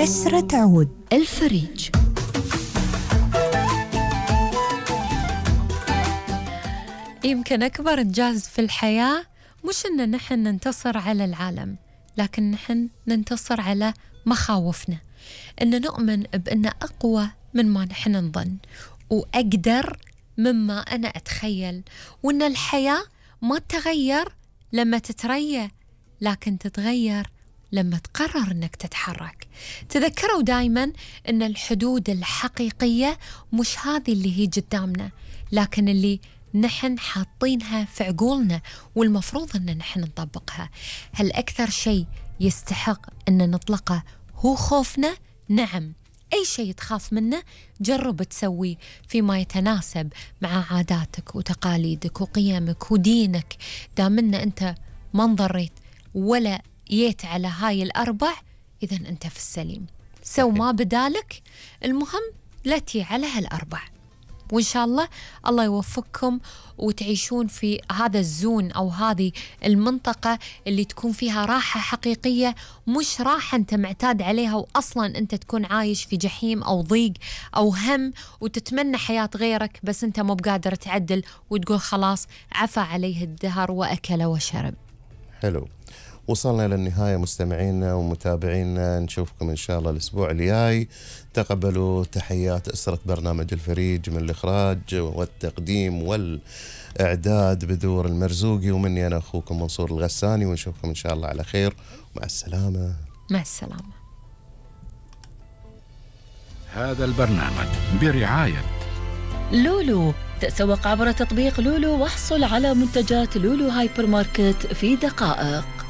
عسرة تعود. الفريج. يمكن أكبر إنجاز في الحياة مش إن نحن ننتصر على العالم، لكن نحن ننتصر على مخاوفنا، إن نؤمن بأن أقوى من ما نحن نظن وأقدر مما أنا أتخيل، وإن الحياة ما تتغير لما تتريى، لكن تتغير لما تقرر أنك تتحرك. تذكروا دايما أن الحدود الحقيقية مش هذه اللي هي قدامنا، لكن اللي نحن حاطينها في عقولنا والمفروض أن نحن نطبقها. هل أكثر شيء يستحق أن نطلقه هو خوفنا؟ نعم، أي شيء تخاف منه جرب تسويه فيما يتناسب مع عاداتك وتقاليدك وقيمك ودينك. دامنا أنت ما انضريت ولا جيت على هاي الأربع، إذن أنت في السليم. سو ما بدالك، المهم لا تي على هالأربع. وإن شاء الله الله يوفقكم وتعيشون في هذا الزون أو هذه المنطقة اللي تكون فيها راحة حقيقية، مش راحة أنت معتاد عليها وأصلا أنت تكون عايش في جحيم أو ضيق أو هم وتتمنى حياة غيرك، بس أنت مو بقادر تعدل وتقول خلاص عفى عليه الدهر وأكل وشرب. حلو، وصلنا للنهاية مستمعينا ومتابعينا، نشوفكم إن شاء الله الأسبوع الجاي. تقبلوا تحيات أسرة برنامج الفريج من الإخراج والتقديم والإعداد بدور المرزوقي، ومني أنا أخوكم منصور الغساني، ونشوفكم إن شاء الله على خير. مع السلامة. مع السلامة. هذا البرنامج برعاية لولو. تسوق عبر تطبيق لولو واحصل على منتجات لولو هايبر ماركت في دقائق.